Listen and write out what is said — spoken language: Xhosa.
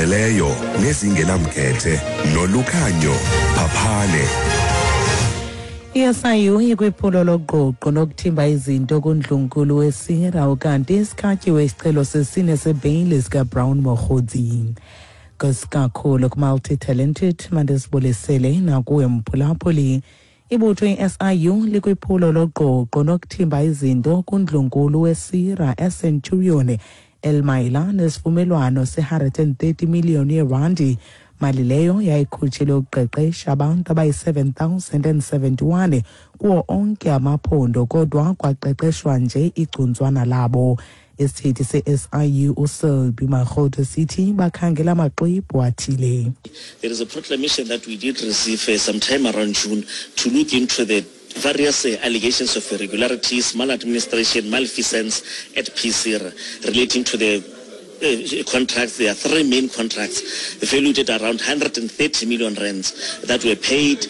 Ezizimeleyo nezingenamkhethe nolukhanyo phaphane. I-SIU ikwiphulo loqoqo lokuthimba izinto kundlunkulu wesira ukanti isikhatyiwe isicelo sesine sebheyile sikaBrown Mogotsi. Kakhulu ku-multi-talented mandizibulisele nakuwe mphulaphuli. Ibutho i-SIU likwiphulo loqoqo nokuthimba izinto kundlunkulu wesira eCenturion elimayela nesivumelwano se-130 million yerandi, mali leyo yayikhutshelwe ukuqeqesha abantu abayi-7071 kuwo onke amaphondo, kodwa kwaqeqeshwa nje igcuntswana labo. Isithethi se-SIU uSelby Makgotho sithi bakhangela amaxwebhu athile. There is a proclamation that we did receive sometime around June to look into the various allegations of irregularities, maladministration, malfeasance at PSIRA relating to the contracts. There are three main contracts valued at around 130 million rands that were paid